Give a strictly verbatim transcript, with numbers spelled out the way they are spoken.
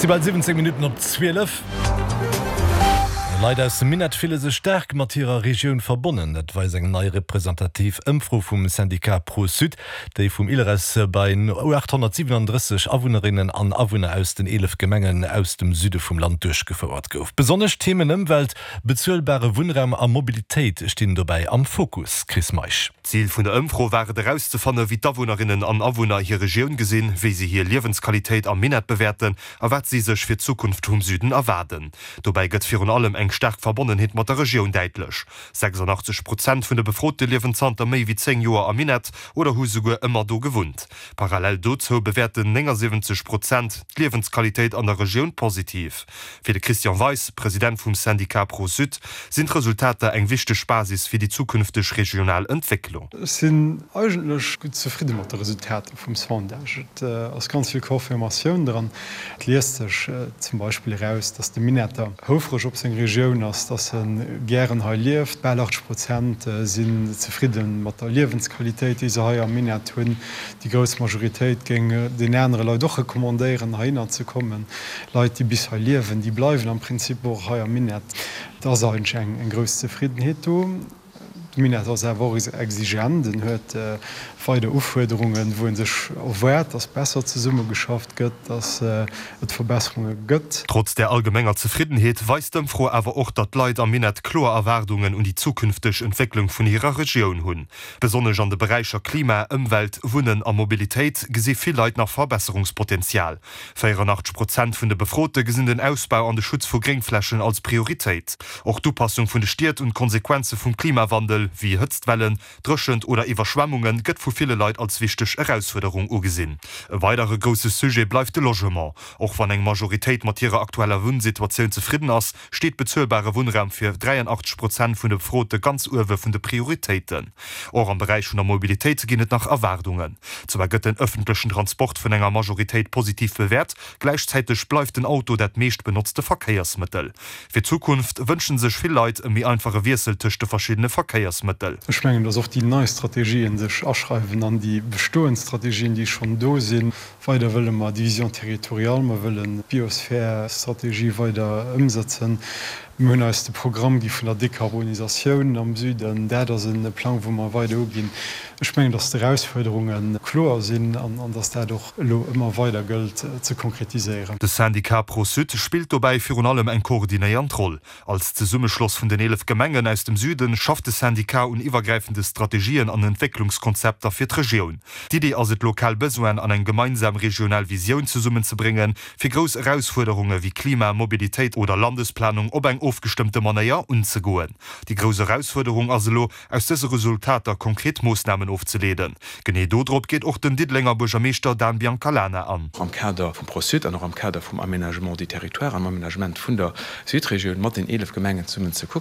Si bal siwwenzéng Minutten op zwielef. Leit aus dem Minett fille sech staark mat hirer Regioun verbonnen. Dat weist eng nei representativ Ëmfro vum Syndicat Pro-Sud, déi vum ILReS bei achthonnertsiwwenandrësseg Awunnerinnen an Awunner aus den eelef Gemengen aus dem Süde vum Land duerchgefouert gouf. Besonnesch d'Themen Ëmwelt, bezuelbare Wunnraum a Mobilitéit stinn dobäi am Fokus. Chris Meisch. Zil vun der Ëmfro war et erauszefannen, wéi d'Awunnerinnen an Awunner hir Regioun gesinn, wéi si hir Liewensqualitéit am Minett bewäerten a wat si sech fir d'Zukunft vum Süden erwaarden. Dobäi gëtt virun allem eng staark Verbonnenheet mat der Regioun däitlech. sechsandachtzeg Prozent vun de Befrote liewen zanter méi wéi zéng Joer am Minett oder hu souguer ëmmer do gewunnt. Parallel dozou bewäerten néngasiwwenzeg Prozent d'Liewensqualitéit an der Regioun positiv. Fir de Christian Weis, President vum Syndicat Pro-Sud, sinn d'Resultater eng wichteg Basis fir déi zukünfteg regional Entwécklung. Ech sinn eigentlech gutt zefridde mat de Resultater vum Sondage. Et ass ganz vill Confirmatioun dran. Et liest sech zum Beispill eraus, datt de Minetter houfreg op seng Regioun ass, datt e gären hei lieft. Bal achtzeg Prozent sinn zefridde mat der Liewensqualitéit, déi se hei am Minett hunn. Déi grouss Majoritéit géing den anere Leit och recommandéieren, heihinner ze kommen. Leit, déi bis hei liewen, déi bleiwen am Prinzip och hei am Minett. Et ass eigentlech eng grouss Zefriddenheet do. De Minett ass awer och exigent, en huet weider Ufuerderungen, wou e sech erwaart, datt besser zesummegeschafft gëtt, datt et Verbesserunge gëtt. Trotz der allgemenger Zefriddenheet weist d'Ëmfro awer och, datt d'Leit am Minett kloer Erwaardungen un déi zukünfteg Entwécklung vun hirer Regioun hunn. Besonnesch an de Beräicher Klima, Ëmwelt, Wunnen a Mobilitéit gesi vill Leit nach Verbesserungspotenzial. véierandachtzeg Prozent vun de Befrote gesinn den Ausbau an de Schutz vu Gréngflächen als Prioritéit. Och d'Upassung vun de Stied un d'Konsequenze vum Klimawandel, wéi Hëtztwellen, Dréchent oder Iwwerschwemmunge gëtt vu ville Leit als wichteg Erausfuerderung ugesinn. E weidere grousse Sujet bleift de Logement. Och wann eng Majoritéit mat hirer aktueller Wunnsituatioun zefridden ass, steet bezuelbare Wunnraum fir dräianachtzeg Prozent vun de Befrote ganz uewe vun de Prioritéiten. Och am Beräich vun der Mobilitéit ginn et nach Erwaardungen. Zwar gëtt den ëffentlechen Transport vun enger Majoritéit positiv bewäert, gläichzäiteg bleift den Auto dat meescht benotzte Verkéiersmëttel. Fir d'Zukunft wënsche sech vill Leit e méi einfache Wiessel tëscht de verschiddene Verkéiersmëttel. Ech mengen, dass och déi nei Strategien sech aschreiwen an déi bestoend Strategien, déi schonn do sinn. Weider wëlle mer déi Vision territoriale, mer wëllen d'Biosphär-Strategie weider ëmsetzen. Mir hunn eis de Programm gi vun der Dekarbonisatioun am Süden. Dat ass e Plang, wou mer weider uginn. Ech mengen, dass d'Erausfuerderunge kloer sinn an dass dat och elo ëmmer weider gëllt ze konkretiséieren. De Syndicat Pro-Sud spillt dobäi virun allem eng koordinéiernd Roll. Als Zesummeschloss vun den eelef Gemengen aus dem Süden schafft de Syndicat un iwwergräifende Strategien an Entwécklungskonzepter fir d'Regioun. D'Iddi ass et, lokal Besoinen an eng gemeinsam regional Visioun zesummenzebréngen, fir grouss Erausfuerderunge wéi Klima, Mobilitéit oder Landesplanung op eng ofgestëmmte Manéier unzegoen. Déi grouss Erausfuerderung ass elo, aus dëse Resultater konkret Moossnamen ofzeleeden. Genee dodrop geet och den Diddelenger Buergermeeschter Dan Biancalana an. Am Kader vum ProSud an och am Kader vum Aménagement du territoire, am Aménagement vun der Südregioun mat den eelef Gemengen zesummen ze kucken,